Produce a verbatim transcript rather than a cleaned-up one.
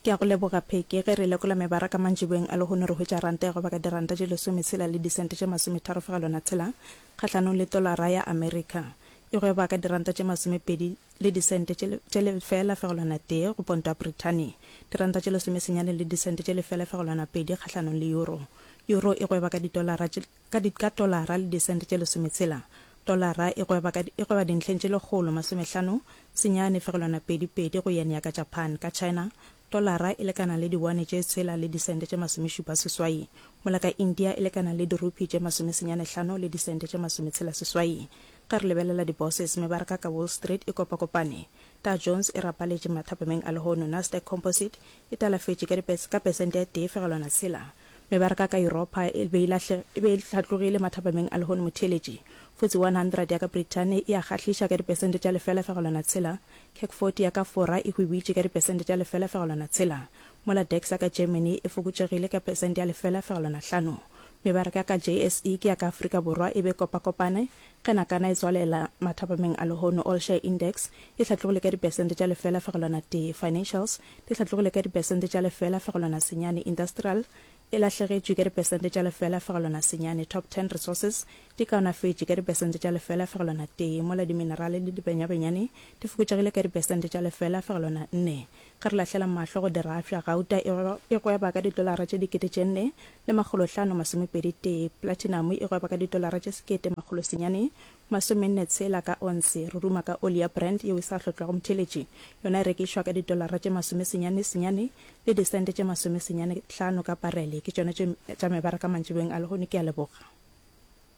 Ke a go leboga Pheke. Ge re lekola mebaraka mantšiboeng a lehono re hwetša ranta e gweba ka diranta tše lesometshela le disente tše masometharo fegelwana tshela kgahlanong le tolara ya Amerika. E gweba ka diranta tše masomepedi le disente tše tše lefela fegelwana tee go ponto ya Brithani. Diranta tše lesomesenyane le disente tše lefela fegelwana pedi kgahlanong le euro. Euro e gweba ka ditolara tše ka di ka tolara le disente tše lesometshela. Tolara e gweba ka e gweba dintlheng tše lekgolo masomehlano senyane fegelwana pedi pedi go yen ya ka Japan. Ka China, tolara e lekana le diwane tše tshela le disente tše masomešupa seswai, mola ka India e lekana le dirupi tše masomesenyane hlano le disente tše masometshela seswai. Ge re lebelela di-bosses, mebaraka ka Wall Street e kopakopane. Dow Jones e rapaletše mathapameng a lehono, Nasdaq Composite e talafetše ka dipes ka pesente ya tee fegelwana tshela. Mebaraka ka Yuropa e be e lahle e be e hlatlogile mathapameng a lehono motheeletši. F T S E one hundred ya ka Brithani e a kgahliša ka dipesente tša lefela fegelwana tshela, CAC forty ya ka Fora e hwibitše ka dipesente tša lefela fegelwana tshela, mola DAX ya ka Germany e fokotšegile ka pesente ya lefela fegelwana hlano. Mebaraka ya ka J S E ke ya ka Afrika Borwa e be kopakopane ge nakana e tswalela mathapameng a lehono. All Share Index e hlatlogile ka dipesente tša lefela fegelwana tee, Financials di hlatlogile ka dipesente tša lefela fegelwana senyane, Industrial e lahlegetšwe ka dipesente tša lefela fegelwana senyane, Top Ten Resources di kaonafetše ka dipesente tša lefela fegelwana tee, mola diminerale le dibenyabenyane di fokotšegile ka dipesente tša lefela fegelwana nne. Ge re lahlela mahlo go dirafša, gauta e gweba ka ditolara tše dikete tše nne le makgolo hlano masomepedi tee, platinum e gweba ka ditolara tše sekete makgolo senyane masomenne tshela ka onse. Re ruma ka oli ya Brent yeo e sa hlotlwago motheeletši, yona e rekišwa ka ditolara tše masomesenyane senyane le disente tše masomesenyane hlano ka parele. Ke tšona tše tša mebaraka mantšiboeng a lehono. Ke a leboga.